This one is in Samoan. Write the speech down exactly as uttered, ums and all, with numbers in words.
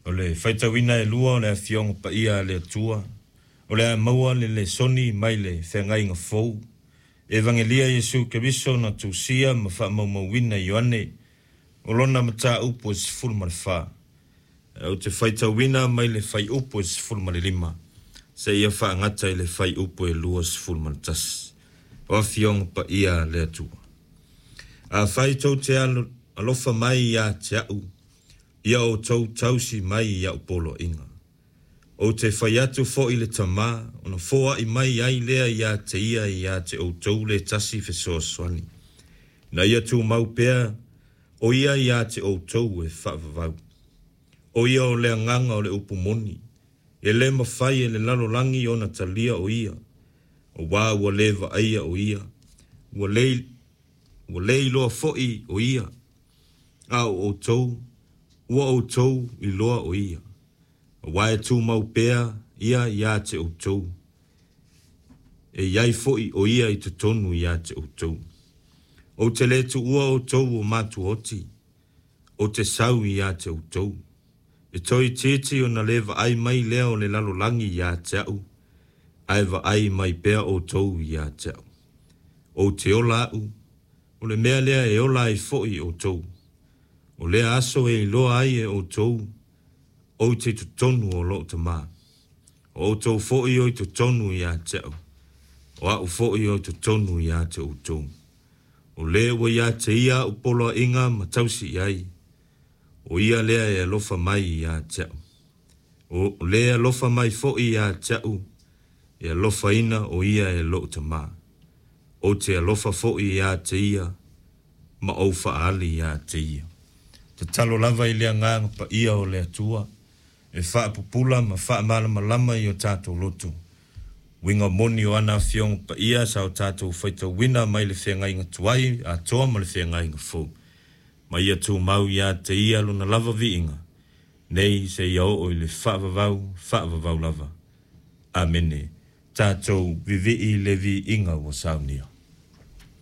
O le faitauina e lua o le Afioga Paia a le Atua, o le a maua le lesoni mai le Feagaiga Fou, Evagelia Iesu Keriso na tusia ma faamaumauina e Ioane, o lona mataupu e sefulu ma le fa. Ou te faitauina mai le fuaiupu e sefulu ma le lima, seia faagata i le fuaiupu e luasefulu ma le tasi. O Afioga Paia a le Atua. Afai tou te alofa mai ia te a'u, ia outou tausi mai i a'u poloaiga. Ou te fai atu foi i le Tamā, ona foai mai ai lea ia te ia ia te outou le tasi fesoasoani. Na ia tumau pea o ia ia te outou e faavavau. O ia o le agaga o le upu moni, e le mafai e le lalolagi ona talia o ia, auā ua le vaaia o ia, ua le, ua le iloa foi o ia, a o outou, ua outou iloa o ia, auā e tumau pea ia ia te outou, e i ai foi o ia i totonu ia te outou. Ou te le tuua outou o matuaoti, ou te sau ia te outou. E toeitiiti ona le vaai mai lea o le lalolagi ia te a'u, ae vaai mai pea outou ia te a'u. Ou te ola a'u, o le mea lea e ola ai foi outou. O lea aso e iloa ai e outou, ou te i totonu o lou Tamā. O outou foi o i totonu ia te a'u, o a'u foi o i totonu ia te outou. O le ua ia te ia a'u poloaiga ma tausi i ai, o ia lea e alofa mai ia te a'u. O le alofa mai foi ia te a'u, e alofaina o ia e lou Tamā. Ou te alofa foi ia te ia, ma ou faaali ia te ia. Tatalo lava i le agaga paia o le Atua, e faapupula ma faamalamalama i o tatou loto. Uiga moni o ana afioga paia sa o tatou faitauina mai le feagaiga tuai atoa ma le feagaiga fou. Ma ia tumau ia te ia lona lava viiga, nei seia oo i le faavavau, faavavau lava. Amene. Tatou vivii le viiga ua saunia.